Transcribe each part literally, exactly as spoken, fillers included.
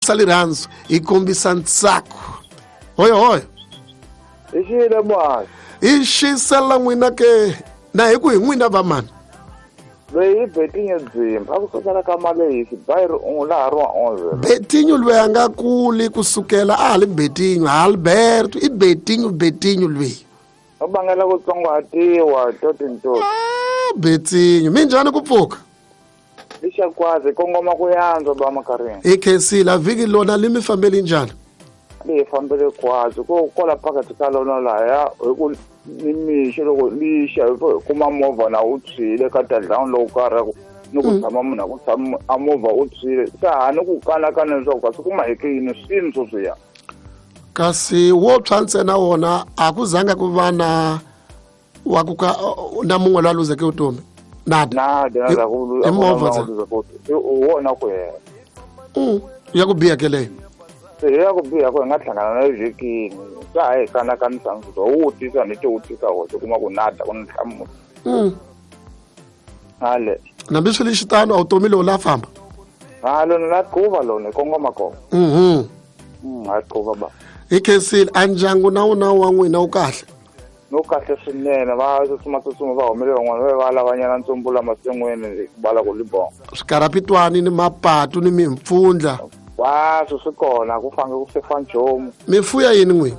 kombisa lirhandzu hi kombisa ntsako hoyo hoyo i xile mwana i xisela n'wina ke na hi ku hi n'wina va mani loyi i Betinho Dzimba a ku sukela ka Malehisi bayiri un'we laha ri wa onze Betinho loyi a nga kuli kusukela a ha li Betinho Alberto i Betinho Betinho loyi u vangela ku tsongahatiwa totintoti ah Betinho minjhani ku pfuka lexakwazi kongoma ku yantswa ba Makarini i khensile a vhiki lona li mi fambeli njhani li hi fambele kwazi ko kwala phakathi ka lona lahaya hi ku ni mixo loko lixa hi kuma movha na wu tshwile ka tadlawuni lowu karhi ni ku tshama munhu a ku tshama a movha wu tshwile se ha ni ku kanakana leswaku kasi ku maheke yini swini sweswiya kasi wo tshwa ntsena wona a ku zanga ku va na wa ku ka na mun'we loyi a luzeke vutomi nada nada nada ku i movha wona ku hela mm ya ku biha ke leyo se ya ku biha ku hi nga hlangana na vhikini swa ha hi kanakanisa swilo wu tisa ni ti wu tisa hoxe kuma ku nada ku ni nhlamulo mm hale nambi swi li xitano a vutomi lowu la famba ha lona la quva lona hi kongoma kona mhm mm ha quva ba hi khensile a ndyangu na wona wa n'wina wu kahle no kahle swinene va tsutsuma tsutsuma va humele van'wana va va lavanyana ntsumbu masin'wini ku bala ku libonga swikarapitwani ni mapatu ni mimpfundla kwaswo swi kona ku fange ku sefa nchumu mi fuya yini n'wina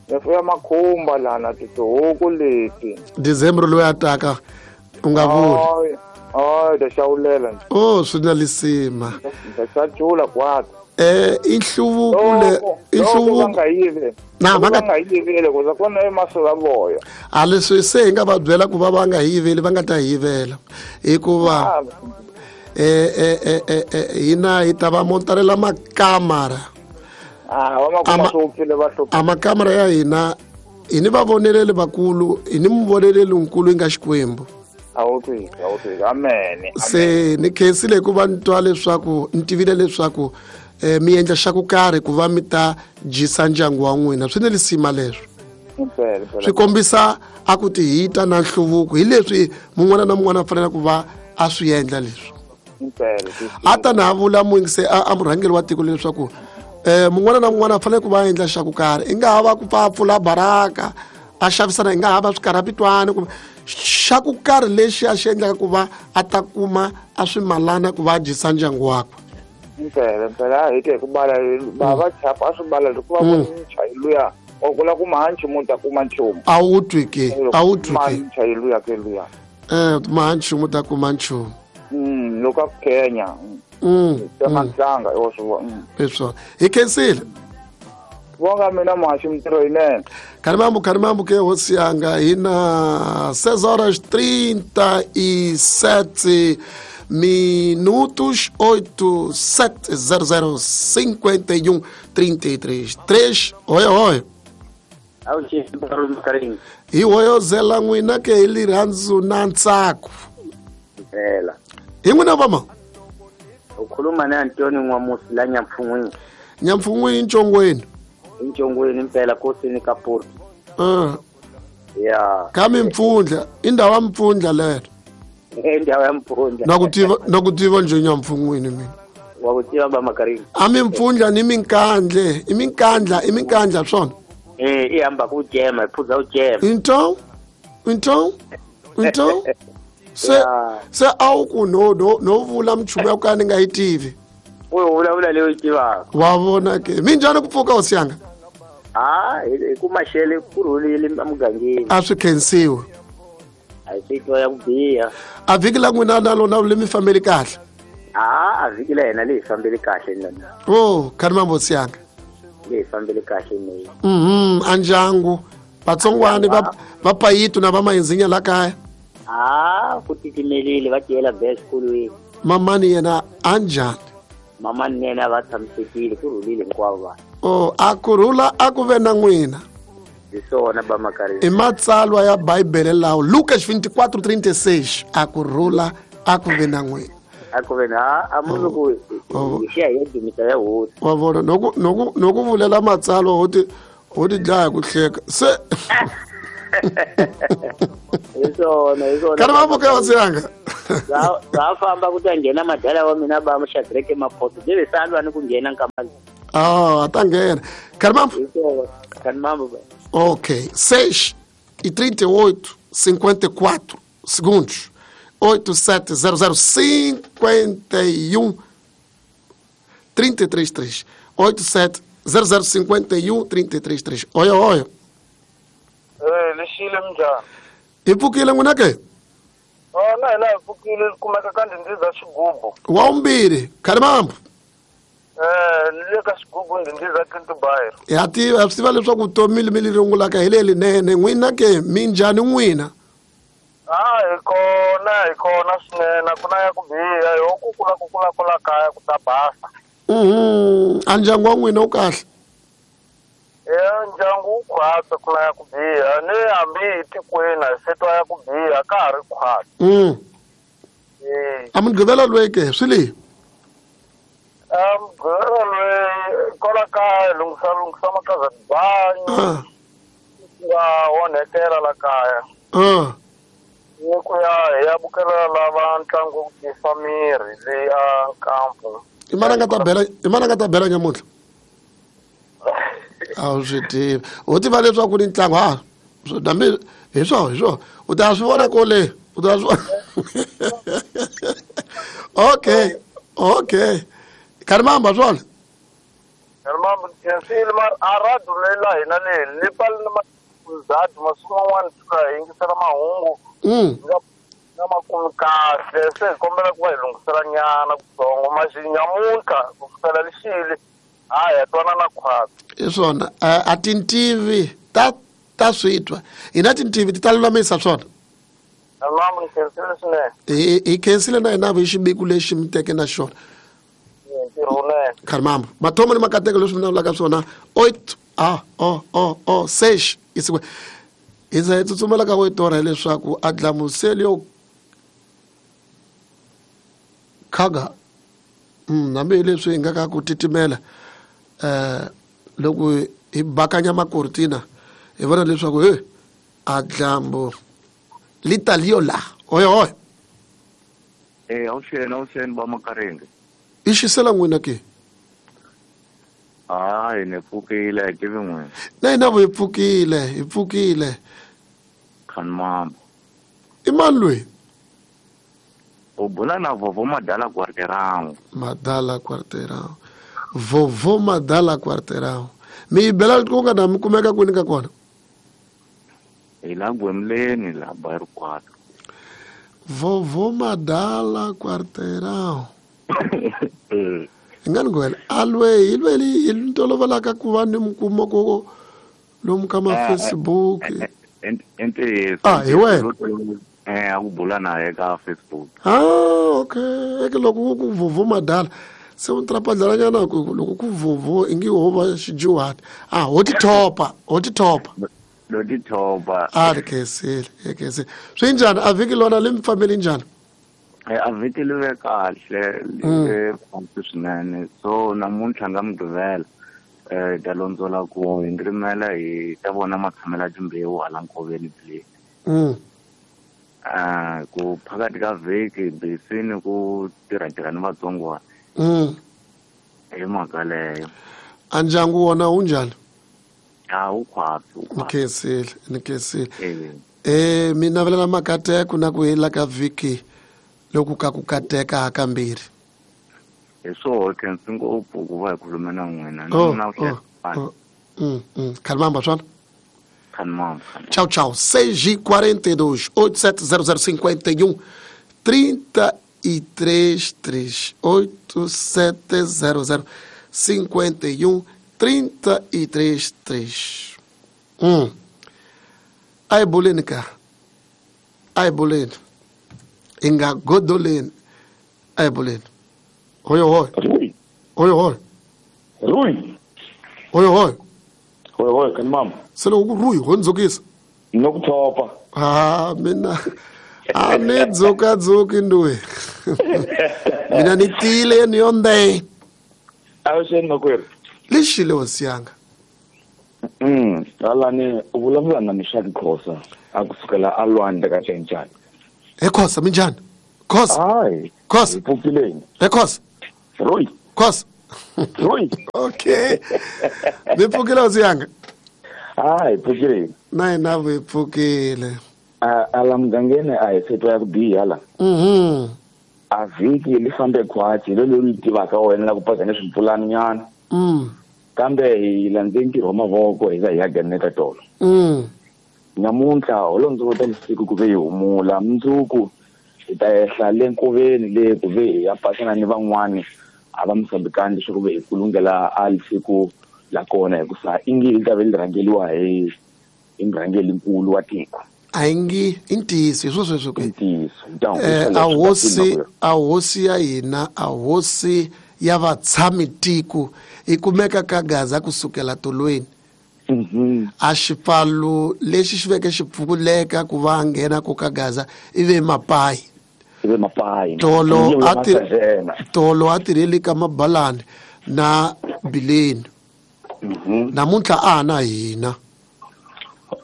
mi fuya makhumba lana titihuku leti December loyi a taka u nga vuli oy ta xawulela oh swi na lisima ta xacula kwato eh i nhluvuko le i nhluvuko nga yivi na va nga yiveli ku za kona emasula voya a leswi se hi nga va byela ku va va nga yiveli va nga ta yivela hikuva eh eh eh eh hina hi ta va montarela makamara ah va ma kuma swo pfile va hlupha a makamara ya hina hi ni va voneleli vakulu hi ni muvoneleli nkulu yi nga Xikwembu a wu twi a wu twi amen se ni khensile hikuva ni twa leswaku ni tivile leswaku eh mi endla xa ku karhi ku va mi ta dyisa ndyangu wa n'wina swi ni lisima leswo swi kombisa a ku ti hita na nhluvuko hi leswi mun'wana na mun'wana a fanele ku va a swi endla leswi a ta na vula muyingise a murhangeri wa tiko leswaku eh mun'wana na mun'wana a fanele ku va endla xa ku karhi i nga ha va ku pfa pfula baraka a xavisana i nga ha va swikarapitwani kumbe xa ku karhi lexi a xi endlaka ku va a ta kuma a swimalana ku va a dyisa ndyangu wakwe impela impela a hi te ku bala va va chapa a swi bala loko va vona muchayi luya wa kula kuma ha nchumu ta kuma nchumu a wu twi ke a wu twi ke muchayi luya ke luya eh ma nchumu ta kuma nchumu mm loko a kenya mm ta ntlanga yo swi vona leswo hi khensile vonga mina muhaxi mintirho yinene Karimambu karimambu ke hosi yanga hina seis horas trinta e sete minutos oito sete zero zero cinquenta e um trinta e três três oi oi hi hoyozela n'wina ke hi lirhandzu na ntsako impela hi n'wina vama ukhuluma na Antoni N'wamusi la Nyampfun'wini Nyampfun'wini Ntshongweni Ntshongweni impela kosini ka Port uh ya ka mimpfundla i ndhawu ya mpfundla lero endawo ya mpfundla na ku tiva na ku tiva nje Nyampfun'wini mina wa ku tiva ba Makarini a mimpfundla ni minkandle i minkandla i minkandla swona eh i hamba ku jema i phuza u jema então então então se se a wu ku no no no vula mchumu ya ku ka ni nga yi tivi u vulavula leyo yi tivaka wa vona ke minjhani ku pfuka hosi yanga ah hi ku maxele ku rhulile emugangeni a swi khensiwe a hi swi twa ya ku biha a vhiki la n'wina na lona le mi fambeli kahle ah a vhiki la hina le hi fambeli kahle nana oh kharimambo hosi yanga le hi fambeli kahle ne mhm a ndyangu vatsongwani va va payitu na va mahinzinya la kaya ah ku titimelile va tiyela be exikolweni mamani yena a njhani mamani yena va tshamisekile ku rhulile hinkwavo vanhu oh a ku rhula a ku ve na n'wina hi swona ba Makarini i matsalwa ya bibele lawo Lucas vinte e quatro trinta e seis a ku rhula a ku ve na n'wina a ku ve na a munhu ku hi xiya hi ya dumisa ya hosi wa vona noku noku noku vulela matsalwa ho ti ho ti dlaya ku hleka se Hi swona hi swona. Kani mambo ka hosi yanga. Za za famba ku ta nghena madala wa mina ba Shadrack Maphoto. Leve salwa ni ku nghena nkamba. Ah, ta nghena. Kani mambo. Kani mambo ba. Ok, seis e trinta e oito, cinquenta e quatro segundos. oito sete zero zero cinquenta e um trinta e três três. oito sete zero zero cinquenta e um trinta e três três. Olha, olha. Eh, lexile minjhani? Hi pfukile n'wina ke? Oh, na hina hi pfukile kumeka ka ndhindhiza xigubu. Wa vumbirhi, Khalimambo. Eh, ni le ka xigubu ndhindhiza Kintubairo. Ya tiva, swi tiva leswaku vutomi mi li rungulaka hi lelinene. N'wina ke minjhani n'wina? Ah, hi kona, hi kona swinene, ku na ya ku biha, hi ku kula ku kula kula kaya ku ta basa. Mhm, a ndyangu wa n'wina wu kahle? Ya ndyangu wu khwatsa ku na ya ku biha, ni hambi hi tikweni a se twa ya ku biha ka ha ri khwatsa. Mm. Eh. A mugqivela loyi ke swi le? A mugqivela loyi kwala kaya lunghisa lunghisa makaza tibanyi. Ah. Nga onhekela la kaya. Ah. Ni ku ya hi ya bukela lava ntlangu wo tiyisa miri leyi a nkampu. I mani a nga ta bela, i mani a nga ta bela nyamuntlha? A wu swi tivi. U tiva leswaku ni ntlangu ha hambi hi swona hi swona u ta swi vona kole u ta swi vona. Okay, okay. Khalimamba swona? Khalimamba khensile mara a radio leyi la hina leyi ni pfale ni mazadu masiku man'wana fika hi yingisela mahungu. Mm. Nga nga ma kumi kahle se hi kombela ku va hi lunghisela nyana kutsongo maxi nyamuntlha ku sukela lexile hayi ha twanana khwatsi. Hi swona a tintivi ta ta swi twa hina tintivi ti ta lulamisa swona. Khalimambo ni khensile swinene. Hi hi khensile na hina hi xiviko lexi mi teke na xona. Ntirho wunene. Khalimambo mathomo ni makateko leswi mi vulavulaka swona oito a o o o seis isiku hi za hi tsutsumela ka oito hileswaku a dlamuseli yo khaga mm hambi hi leswi hi nga ka ku titimela eh loko hi bakanya makortina hi vona leswaku he a dlambu li ta liyo la oyo oyo. Eh awuxeni awuxeni ba Makarenge. I xisela n'wina ke? Hayi ni pfukile hi tivi n'wina. Na hina hi pfukile hi pfukile. Khalimambo. I mani loyi? U bula na Vovo Madala Quarteirão. Madala Quarteirão. Vovo Madala Quarteirão. Mi yi bela ku nga na mi kumeka kwini ka kona? Hi la Gwemleni la Bairro quatro. Vovo Madala Quarteirão. Hi nga ni gwela a lweyi hi lweyi hi ntolovelaka ku va ni mi kuma ku lomu ka ma Facebook. I ntiyiso. Ah, hi wena. Eh, a ku bula na ye ka Facebook. Ah, okay. Eke loko ku Vovo Madala se u ntrapadlalanyana ku loko ku Vovo ingi ho va xijuhati. Ah, ho ti thopa, ho ti thopa. Lo ti thopa. Ah, ri khensile, ri khensile. Swi njhani a vhiki lona li mi fambeli njhani? Eh, a vhiki li ve kahle, li ve hansi swinene. So namuntlha nga Mugqivela eh ta londzola ku hi rimela hi ta vona matshamelo ya timbewu hala nkoveni bile. Mm. Ah, ku phakathi ka vhiki bisini ku tirha tirha ni vatsongwana. Mm. Hi mhaka leyo. A ndyangu wona wu njhani? A wu khwatsi, wu Ni khwatsi. khensile, ni khensile. Eh. Eh, mi navelela makateko na ku hela ka vhiki loku ka ku kateka hakambirhi. Hi swoho khensi ngopfu ku va hi khulume na n'wina. Ni Oh, na oh, vuxaka. oh. Mm, mm. Khalimamba swona? Khalimamba. Tchau, tchau. seis e quarenta e dois, oito sete zero zero cinquenta e um, trinta e três três. oito sete zero zero cinquenta e um, trinta e três três. Hum. Ai, bolene, cara. Ai, bolene. Inga godolene. Ai, bolene. Oi, oi. Rui. Oi, oi. Rui. Oi, oi. Oi, oi, Khalimamba. Se loko ku Rui, ho ndzukisa. No ku thopa. Ah, mina a ni dzukadzuki nduwe. Mina ni tiyile ni yonde. Avuxeni makwerhu. Lexile hosi yanga. Mm, Alani u vulavula na Mishaki Khosa a kusukela a lwandle ka Tshentshane. He Khosa minjhani? Khosa. Hayi. Khosa. Hi pfukileni. He Khosa. Roy. Khosa. Roy. Okay. Mi pfukile hosi yanga? Hayi, pfukileni. Na hina hi pfukile. A ala mugangeni a hi se twa ya ku biha la. Mhm. A vhiki li fambe khwatsi lo leri tivaka wena la ku paza ni swimpfulani nyana. Mm. Kambe hi landze ntirho wa mavoko hi za hi ya ganeka tolo. Mm. Namuntlha holondzota lisiku ku ve hi humula mundzuku hi ta ehla le nkoveni le ku ve hi ya pasana ni van'wani a va Mozambikani leswaku ve hi kulungela a lisiku la kona hikusa ingi hi ta ve li rhangeliwa hi hi murhangelinkulu wa tiko. A yi ngi i ntiyiso hi swo sweswo ke. Ntiyiso. Eh, a hosi a hosi ya hina a hosi ya vatshami tiko i kumeka ka Gaza kusukela tolweni. Mhm. A xipfalo lexi xi veke xi pfukuleka ku va nghena ku ka Gaza i ve mapayi. I ve mapayi. Tolo a ti tolo a tirheli ka mabalani na bileni. Mhm. Namuntlha a na hina.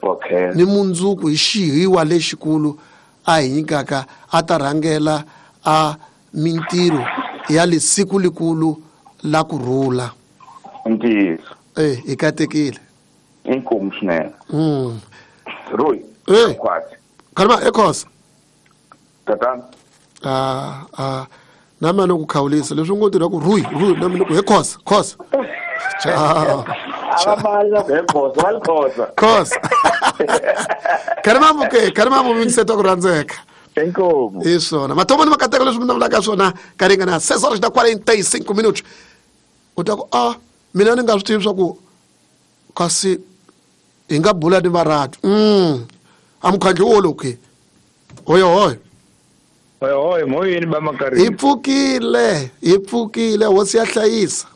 Okay. Ni mundzuku hi xihiwa lexikulu a hi nyikaka a ta rhangela a mintirho ya lisiku likulu la kurhula. Ntiyiso. Eh, hi katekile. Inkomu swinene. Mm. Roy. Eh. Khwatsi. Kalma eKhosa. Tatana. Ah ah na mina ku khawulisa leswi ngo tirha ku Rui Rui na mina ku he Khosa Khosa. Ciao. A va la ku he Khosa va Khosa. Khosa. Kalma ke kalma mu minseto ku rhandzeka. Inkomu. Hi swona. Mathomo ni makateko leswi mi vulaka swona ka ringana seis horas da quarenta e cinco minutos. U ta ku ah mina ni nga swi tivi swa ku kasi hi nga bula ni varati. Mm. A mukhandlu wo loku. Hoyo hoyo. Hoyo hoyo moyeni ba makarhi. Hi pfukile, hi pfukile hosi ya hlayisa.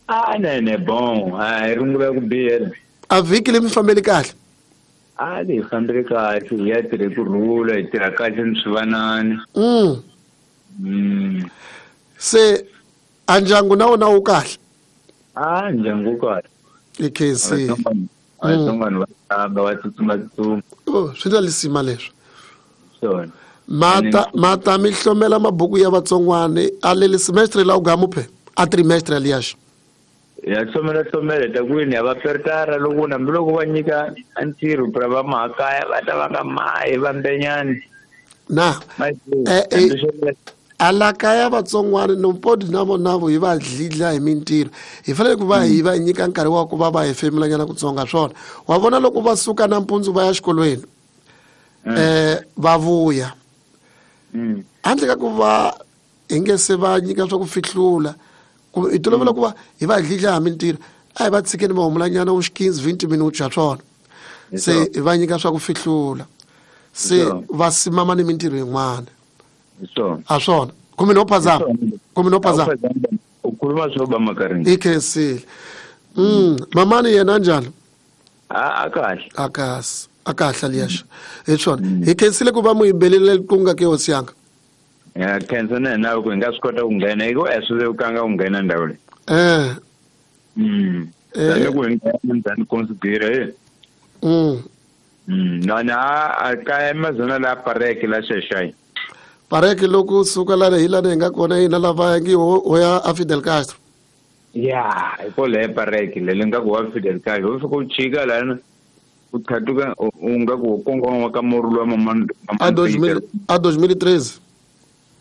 Ah ne ne bon, a hi rungula ku biyela. A vhiki leyi mi fambeli kahle. A leyi fambeli kahle, hi ya tirhe ku rhula, hi tirha kahle ni swivanani. Mm. Mm. Se a ndyangu na wona wu kahle? A ndyangu wu kahle. I K C. Vatsongwana va tamba va tsutsuma tsutsuma. Oh, swi na lisima leswi. Swona. Mata mata mi hlomela mabuku ya vatsongwana a le semestre la u gamuphe a trimestre aliás. Ya hlomela hlomela ta kwini ya va pertara loko na loko va nyika ntirho pra va makaya va ta va nga mayi va mbenyani. Na. Eh eh ala kaya vatsongwana no podi na vona vo hi va dlidla hi mintirho hi fanele ku va hi va nyika nkarhi wa ku va va hefemulanyana kutsonga swona wa vona loko va suka nampundzu va ya xikolweni eh va vuya handle ka ku va hi nge se va nyika swa ku fihlula ku hi tolovela ku va hi va dlidla hi mintirho a hi va tshikeni va humulanyana wu quinze vinte minutos ya swona se hi va nyika swa ku fihlula se va simama ni mintirho yin'wana. So. A swona kumbe no phazama kumbe no phazama u khuluma swo ba makarhi i khensile. Mm mamani yena njhani? A a kahle a kahle a kahle liyaxa hi swona hi khensile ku va mu yimbelele ku ke hosi yanga. Ya khensa na na ku hi nga swi kota ku nghena hi ku a swi vekanga ku nghena ndhawu leyi. Eh mm eh ku hi nghena ndani considera eh mm mm na na a ka Amazon la pareke la xexai pareke loko suka la hi la hi nga kona hina lava ngi ho ya a Fidel Castro. Ya hi ko le pareke le nga ku wa Fidel Castro u fika u chika lana u thatuka u nga ku kongoma ka morulu wa mama a a dois mil e treze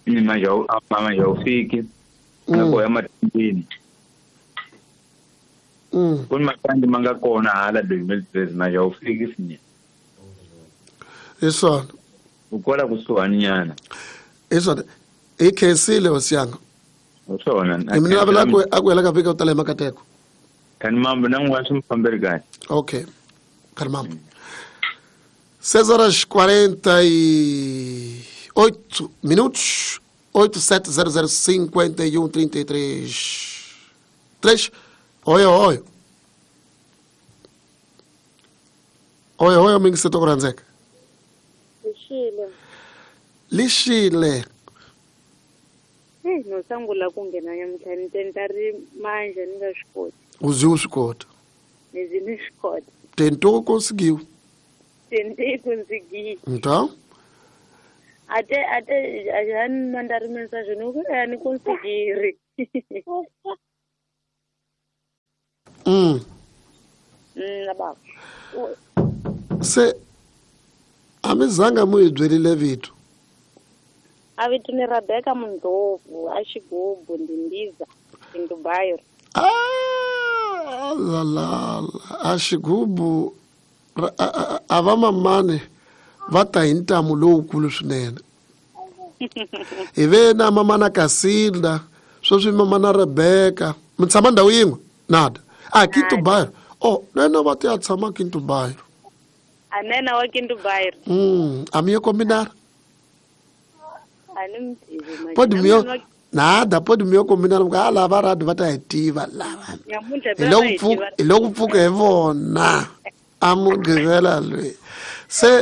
ni manje mama ya ufiki na ko ya matindini. Mm ku matandi manga kona hala dois mil e treze manje a ufiki sinya. Hi swona u kola kusuhani nyana. Hi swona hi khensile hosi yanga. Swona. Hi mina lavela ku a ku hela ka vhiki u tala hi makateko. Kani mambo na n'wana swi mi fambeli kahle. Okay. Kani mambo. seis horas quarenta e oito minutos. oito sete zero zero cinquenta e um trinta e três. três. Oi, oi. Oi, oi, amigo, você tá com Lixile. Lixile. Eh, no sangula ku nghena nyamuntlha ni tenta ri manje ni nga swi koti. U zi u swi kota. Ni zi ni swi kota. Tentou, conseguiu. Tentei conseguir. Então? Até, até, já me mandaram mensagem, não, não consegui. Hum. Hum, tá bom. Se a mizanga muidwelile vitu. A vitu ni Rebecca Mundovu, a Xigubu, Ndindiza, em Dubai. Ah, la la, a Xigubu, a vamamane va ta hi ntamu lowukulu swinene. Hi ve na mamana Kasilda, sweswi mamana Rebecca. Mi tshama ndhawu yin'we? Nada. Ah, Quinto Bairro. Oh, nena va ti ya tshama Quinto Bairro. A nena wa Quinto Bairro. Hum, a minha combinar. A ni mi tivi. Pode me nada, pode me combinar porque ah, lava rado va ta hi tiva lava. Hi loko pfuka, hi loko pfuka hi vona. A mugqivela loyi. Se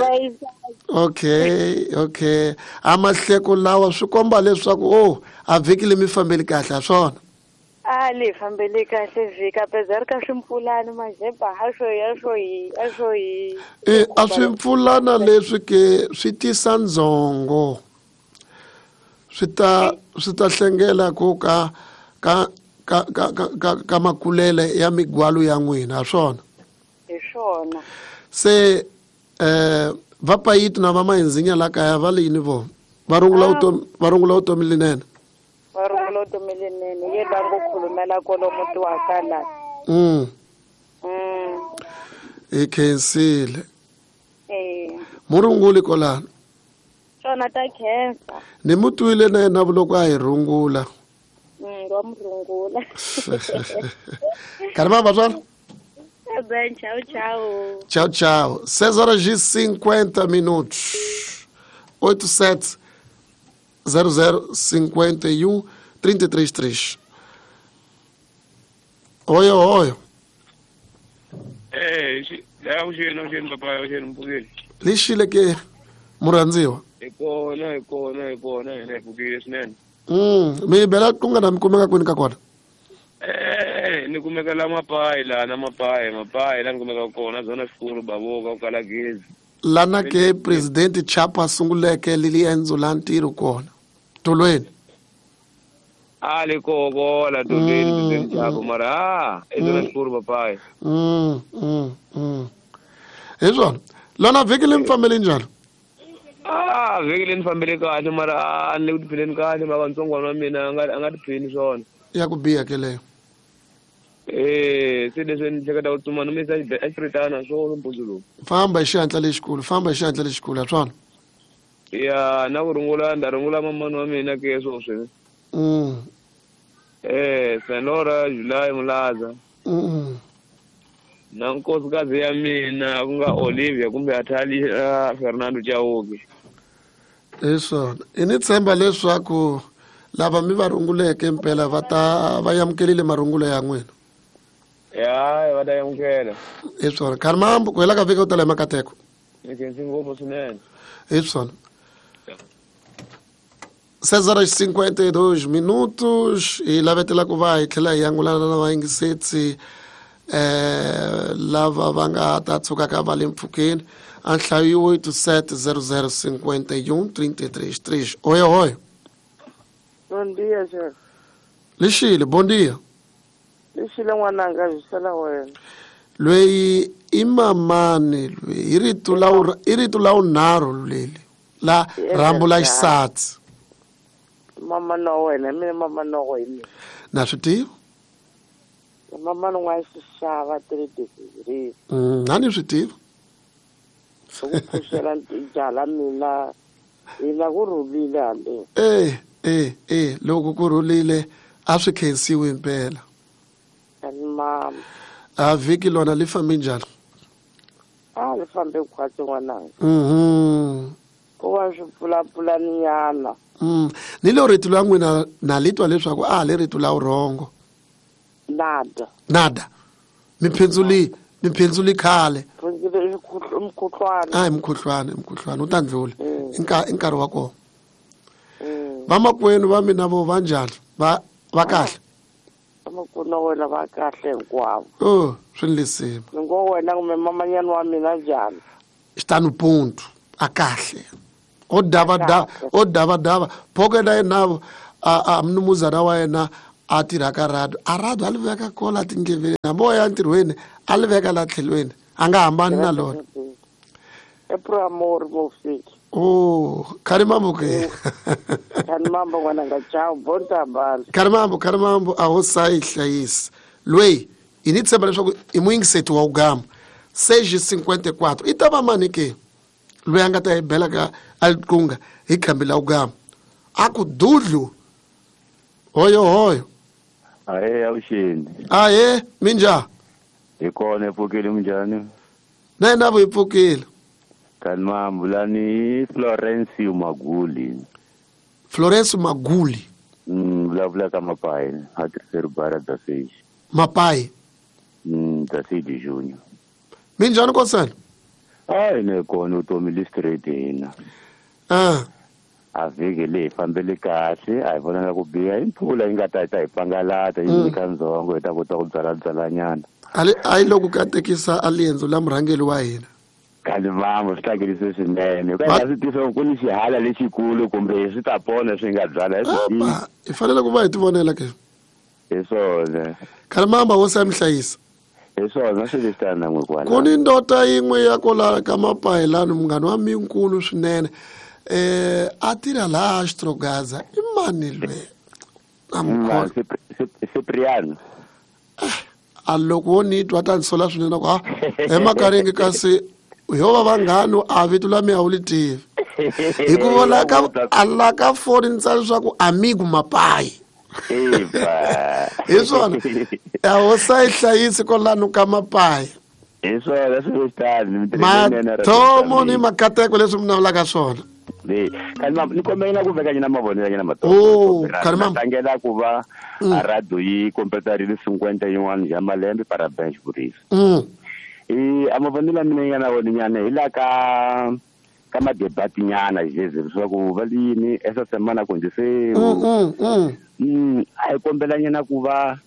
okay, okay. A mahleko lawa swi komba leswaku oh, a vhiki leyi mi fambeli kahle ha swona. A li fambeli kahle vhiki apesar ka swimpfulana mazeba a swo ya swo hi a swo hi. E a swimpfulana leswi ke swi tisa ndzhongo. Swi ta swi ta hlengela ku ka ka ka ka ka ka makulele ya migwalo ya n'wina ha swona. Hi swona. Se eh va payitu na va mahinzinya la kaya va le yini vo? Va rungula utomi va rungula utomi linene. Va rungula utomi linene ye la ngo khulumela kolomu tiwaka la. Mm. Mm. I khensile. Eh. Murunguli kolana. Swona ta khensa. Ni mu twile na yena vuloko a hi rungula. Mm, wa murungula. Karima va swona? Bem, tchau, tchau. Tchau, tchau. seis horas e cinquenta minutos. oito sete zero zero cinquenta e um trinta e três três. Oi, oi. Eh, é o gênio, o gênio, papai, o gênio, um pouquinho. Lixile que muranziwa. É kona, é kona, é kona, é porque isso né. Hum, me bela kunga na mikumeka kwini ka kona. Eh, ni kumeka la mapai la na mapai, mapai la ni kumeka kona zona xikulu baboka ku kala gezi. Lana ke president Chapa sunguleke lili endzo la ntirho kona. Tolweni. A le koko la tolweni president Chapa mara ah, e zona xikulu papai. Mm, mm, mm. Hi swona. Lona vhiki leyi mi fambele njhani? Ah, vhiki leyi ni fambele kahle mara a ni le ku tiphineni kahle mara ntsongwana wa mina a nga a nga tiphini swona. Ya ku biha ke leyo. Eh, se leswi ni hleketa ku tsumana mi sa xipritana swona mpundzu lowu. Famba hi xihatla lexikulu, famba hi xihatla lexikulu ha swona. Ya, na ku rungula nda rungula mamani wa mina ke sweswi. Mm. Eh, Senora July Mulaza. Mm. Na nkosikazi ya mina ku nga Olivia kumbe Atalia Fernando Chauke. Hi swona. I ni tshemba leswaku lava mi va runguleke mpela va ta va amukelile marungulo ya n'wina. Ya, va ta amukela. Hi swona. Karmambu ku hela ka vhiki u tala hi makateko. Ni khensi ngopfu swinene. Hi swona. seis horas e cinquenta e dois minutos e lavetela ku va hi tlhela hi angulana na vayingisetsi eh lava va nga ta tshukaka va le mpfhukeni a nhlayo oito sete zero zero cinquenta e um trinta e três três. Oi, oi. Bom dia, chefe. Lixile, bom dia. Lixile n'wananga byi sala wena. Loyi i mamani loyi i rito la i rito la unharhu leli la rhambu la xisatsi. Mama no wena mina mama no wena. Na swi tiva? Mama no n'wa xixava three degrees. Mm, na ni swi tiva. Ku pfuxela jala mina hina ku rhulile hambi. Eh, eh, eh, loko ku rhulile a swi khensiwi impela. Mama. A vhiki lona li fambe njhani? A li fambe khwatsi n'wananga. Mhm. Ku va swi pfulapfulaninyana. Mm. Ni lo rito la n'wina na li twa leswaku a le rito la wrong. Nada. Nada. Miphindzuli, miphindzuli khale. Phindzuli mkhuhlwana. Ah, mkhuhlwana, mkhuhlwana u ta ndlula. I nkarhi wa kona. Vamakwenu va mina vo va njhani? Va va kahle. Makuna wena va kahle hinkwavo. Oh, swi lisima. Ni ngo wena kumbe mamanyana wa mina njhani? Xitanu ponto a kahle. O dava dava, o dava dava. Phoko na yena a a mnumuzana wa yena a tirha ka radio. A radio a li veka kola tindleveni. Hambi o ya ntirhweni a li veka la tlhelweni. A nga hambani na lona. E pro amor mo fiki. Oh, karimambo ke. Karimambo ngwana nga chao bonta bala. Karimambo, karimambo a ho sai hlayisa. Lwei, ini tshemba leswaku i muyingiseti wa ugama. seis cinquenta e quatro. I ta va mani ke? Loyi a nga ta hi bela ka aliqunga hi khambi la ugama. A ku dudlu. Hoyo hoyo. Ahe avuxeni. Ahe, minjhani? Hi kona hi pfukile minjhani? Na hina vo hi pfukile. Kanimambu lani Florence Maguli. Florence Maguli. Mm, vulavula ka Mapai, a tirhiseri bara da seis. Mapai. Mm, da seis de junho. Minjhani kosana? Hayi ne kona vutomi li straight hina. Ah. A vhiki leyi fambele kahle, a hi vonanga ku biha, i mpfula yi nga ta yi ta hi pangalata yi nyika ndzhongo hi ta kota ku byala byalanyana. A a yi loko katekisa a liendzo la murhangeri wa hina. Kalimambo swi tlakerise swinene. Ka hi swi tiva ku ni xihala lexikulu kumbe swi ta pona swi nga byala hi swi tivi. Hi fanele ku va hi tivonela ke. Hi swona. Kalimamba hosi ya mi hlayisa. Hi swona swi leswi tana n'we kwala. Ku ni ndota yin'we ya kwala ka Mapai lani munghana wa mina nkulu swinene. Eh a tirha laha Xtrogaza i mani lwe? A Cipriano. A loko wo ni twa ta ni sola swinene ku ha emakaringi kasi yo va vanghani a vito la mi a wu li tivi. Hikuva la ka a la ka foni ni tsala leswaku amigo Mapai. Hi swona. A ho sa yi hlayisi kwalano ka Mapai. Hi swona swi leswi mathomo ni makateko leswi mi navelaka swona. Le kanimambo ni kombela ku veka nyana mavonelo nyana mathomo. Oh, karimambo. Tlangela ku va a radio yi kompetarile cinquenta yin'wana ya malembe parabéns vurisa. Mm. Eh a mavonelo ya mina yi nga na wona nyana hi la ka ka madebati nyana jeze leswaku va yini esa semana konjise. Mm mm. Mm a hi kombela nyana ku va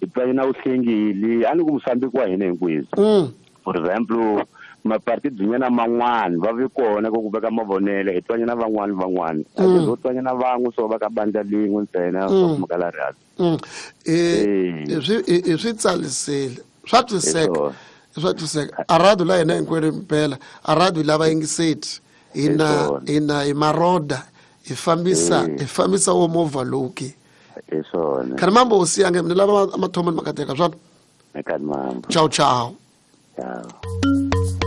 hi twa nyana uhlengile a ni ku musambiki wa hina hinkwenu. Mm. For example mapartido nyana man'wana va vi kona ku veka mavonelo hi twa nyana van'wana van'wana. A Mm. vo twa nyana van'we so va ka bandla lin'we ntsena swa ku makala rhabi. Mm. Eh swi swi tsalisile. Swa twiseka. Swa twiseka. A radio la hina hinkwenu mpela. A radio lava yingiseti. Hina hina hi maroda hi fambisa hi fambisa wo movha lowu ke. Hi swona. Karimambo hosi yange mina lava mathomo ni makateka swona. Karimambo. Ciao ciao. Ciao.